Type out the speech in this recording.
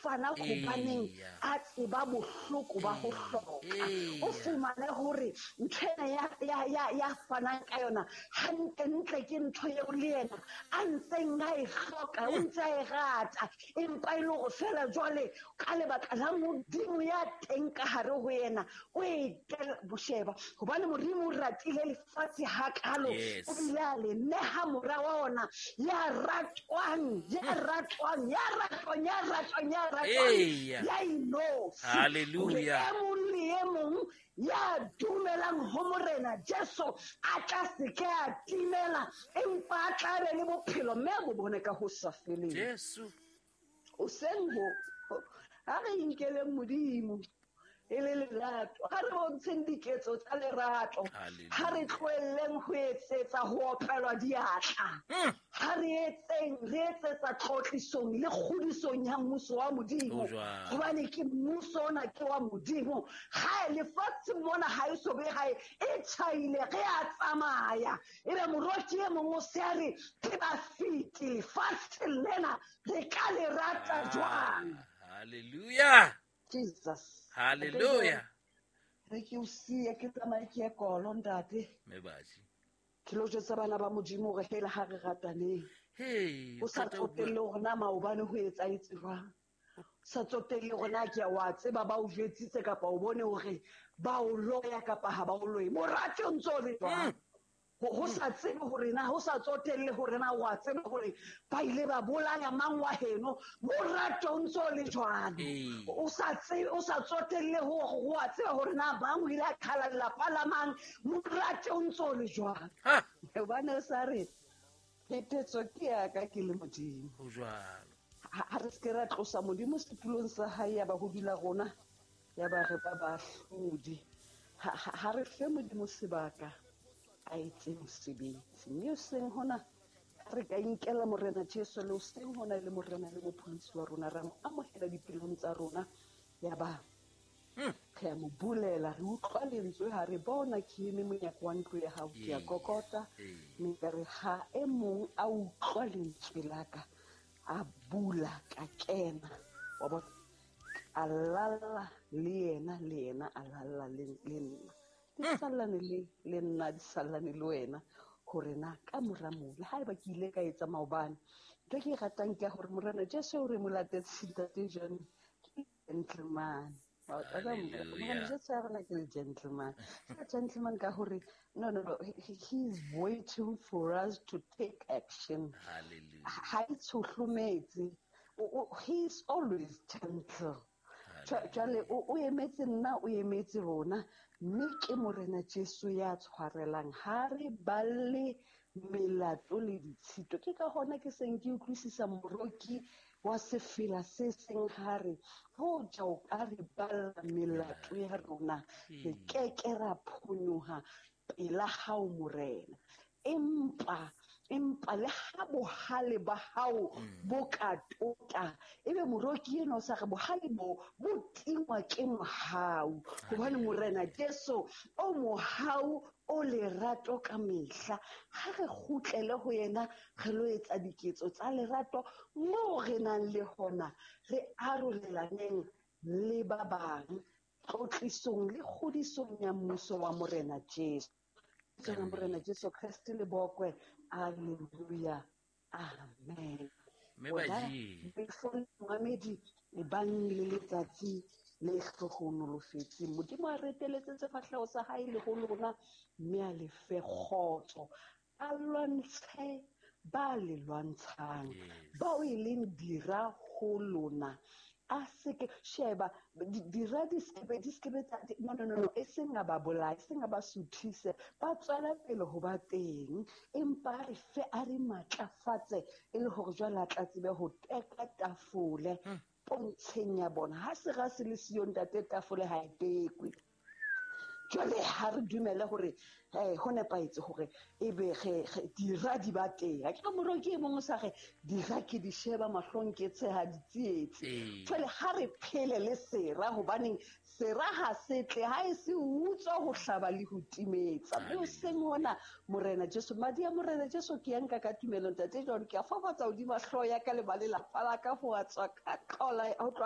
fana hobaneng a tseba bohloko ba ho hloka. O fumane hore ntho ena ya fanang ka yona hantlentle ke ntho eo le yena a ntseng a e hloka, o ntse a e rata, empa e le hore feela jwale ka lebaka la Modimo ya teng ka hare ho yena o e bosheba, hobane Modimo o ratile lefatshe hakalo, o bile a le neha mora wa ona ya ratwang, ya ratwang, ya ratwang, ya ratwang, ya ratwang, ya inotshi. Hallelujah. E mong le e mong ya dumelang ho Morena Jesu a tla se ke a timela, empa a tla be le bophelo mme a bo bone ka ho sa feleng. Jesu. O seng ho ha re inkeleng Modimo e le lerato, ha re bontsheng diketso tsa lerato, ha re tlohelleng ho etsetsa ho opelwa diatla, ha re etseng re etsetsa tlotlisong le kgodisong ya mmuso wa Modimo, hobane ke mmuso ona ke wa Modimo. Ha lefatshe mona ha e so be hae e tjhaile, re a tsamaya, ebe moroki e mong o se a re ke ba fiti lefatshe lena, re ka le rata jwang? Hallelujah. Jesus. Hallelujah. Re ke o siye ke tsamaye ke ye kolo ntate. Mebaji. Ke lo jwetsa bana ba Modimo hore hela ha re rataneng. Hey, o sa tsotelle hore na maobane ho etsahetse jwang. O sa tsotelle hore na ke wa tseba ba o jwetsitse kapa o bone hore ba o loya kapa ha ba o loye. Morate o ntso le jwang? Ho sa tsebe hore na, ho sa tsotelle hore na wa tseba hore ba ile ba bolaya mang wa heno, morate o ntso le jwalo. O sa tsebe, o sa tsotelle hore wa tseba hore na bang o ile a qhala lelapa la mang, morate o ntso le jwalo. Hobane o sa re phetetso ke ya ka ke le Modimo. Ho jwalo. Ha re se ke ra tlosa Modimo setulong sa hae ya ba ho dula rona, ya ba re ba bahlodi. Ha re fe Modimo sebaka a etse mosebetsi. Mme o seng hona re ka inkela Morena Jesu, le o seng hona le Morena le Mopholosi wa rona, ra mo amohela dipelong tsa rona, ya ba re a mo bulela, re utlwa lentswe ha re bona ke eme monyako wa ntlo ya hao, ke a kokota, mme ka re ha e mong a utlwa lentswe la ka, a bula ka kena, wa bona, a lalla le yena, le yena a lalla le nna. Di sallane le nna, di sallane le wena, hore na ka mora moo, le haeba ke ile ka etsa maobane, ntho e ke e ratang ke ya hore Morena Jesu o re mo latetse ntate John, ke gentleman. Morena Jesu ya rona ke le gentleman. Ke gentleman ka hore, no, no, no, he is waiting for us to take action. Hallelujah. Ha e tshohlometse. He is always gentle. Jwale o emetse nna, o emetse rona, mme ke Morena Jesu ya tshwarelang. Ha re balle melato le ditshito. Ke ka hona ke seng ke utlwisisa moroki wa sefela se seng ha re, hoja o ka re balla melato ya rona, re keke ra phonyoha pela hao Morena. Empa le ha bohale ba hao bo ka tota, ebe moroki enwa o sa re bohale bo bo tingwa ke mohau, hobane Morena Jesu o mohau, o lerato ka mehla. Ha re kgutlele ho yena, re lo etsa diketso tsa lerato moo re nang le hona, re arolelaneng le ba bang tlotlisong le kgodisong ya mmuso wa Morena Jesu. Tsena Morena Jesu Kreste le bokwe. Hallelujah. Amen. Mme baji. Before Mohamedi e bang le letsatsi le hlohonolofetseng. Modimo a reteletse sefahleho sa hae le ho lona, mme a le fe kgotso. A lwantshe ba le lwantshang, bao e leng dira ho lona. A seke sheba dira di skebe, di skebe tsa, di, no, no, no, no, e seng a ba bolaye, e seng a ba suthise, ba tswela pele ho ba teng, empa a re fe, a re matlafatse, e le hore jwale a tla tsebe ho teka tafole pontsheng ya bona. Ha sera se le siyo ntate, tafole ha e tekwe. Jwale ha re dumele hore, ho nepahetse hore ebe re dira di ba teng. Ha ke re moroki e mong o sa re, dira ke di sheba mahlong ke tsheha ditsietsi. Jwale ha re phele le sera, hobaneng sera ha se tle, ha e se utswa ho hlaba le ho timetsa. Mme o seng hona, Morena Jesu, madi a Morena Jesu ke a nka ka tumelo ntate John, ke a fafatsa hodima hlooho ya ka le ba lelapa la ka ho tswa ka tlola, ho tloha